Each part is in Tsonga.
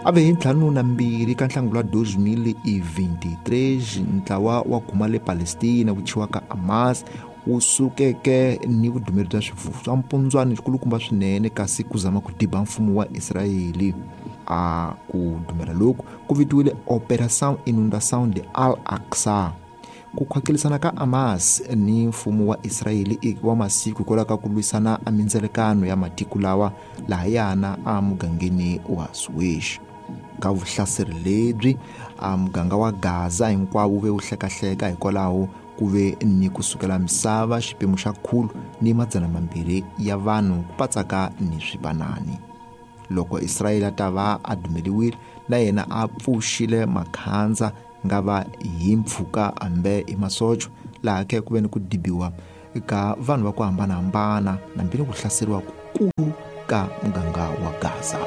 A ve hi 52 ka Nhlangula 2023 ntlawa wa guma le Palestina wu thyiwaka Hamas wu sukeke ni vudumeri bya swifuwo swa mpundzwani xikulukumba swinene kasi ku zama ku diba mfumo wa Israyeli. A ku dumela loku ku vitiwile Operação Inundação de Al-Aqsa. Ku khwakelisana ka Hamas ni mfumo wa Israyeli i wa masiku hikwalaho ka ku lwisana a mindzelekano ya matiko lawa lahayana a mugangeni wa Suez. Ka vuhlaseri lebyi a muganga wa Gaza hinkwawo wu ve wu hlekahleka hikwalaho ku ve ni ku sukela misava xipemu xa 102 ya vanhu ku patsaka ni swivanani. Loko Israyeli a ta va a dumeliwile na yena a pfuxile makhandza nga va hi mpfhuka hambe hi masocho laha ke ku ve ni ku dibiwa ka vanhu va ku hambanahambana nambi ni ku hlaseriwa kukulu ka muganga wa Gaza.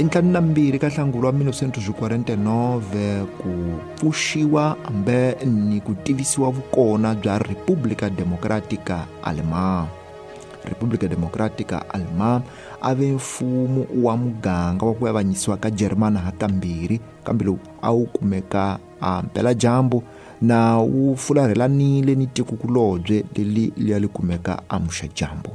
Hi 52 ka Nhlangula wa 1949 ku pfuxiwa hambe ni ku tivisiwa vukona bya República Democrática Alemã. República Democrática Alemã a ve mfumo wa muganga wa ku avanyisiwa ka Jarimani hakambirhi, kambe lowu a wu kumeka a mpeladyambu na wu fularhelanile ni tikokulobye leri liya li kumeka a muxadyambu.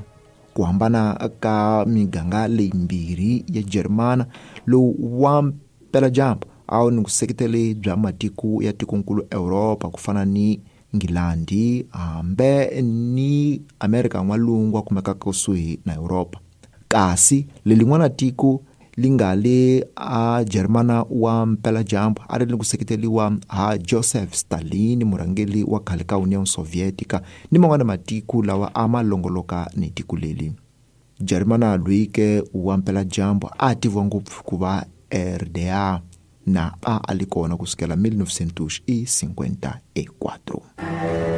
Ku hambana ka miganga leyimbirhi ya Jarimani, lowu wa mpeladyambu a wu ni vuseketeli bya matiko ya tikonkulu Europa ku fana ni Nghilandhi hambe ni Amerika n'walungu a kumekaka kusuhi na Europa. Kasi lelin'wana tiko li nga le a Jarimani wa mpeladyambu a ri ni ku seketeliwa ha Joseph Stalin, murhangeri wa khale ka Union Sovietica ni man'wana matiko lawa a ma longoloka ni tiko leri. Jarimani loyi ke wa mpeladyambu a tiviwa ngopfu ku va RDA na a a li kona kusukela 1954.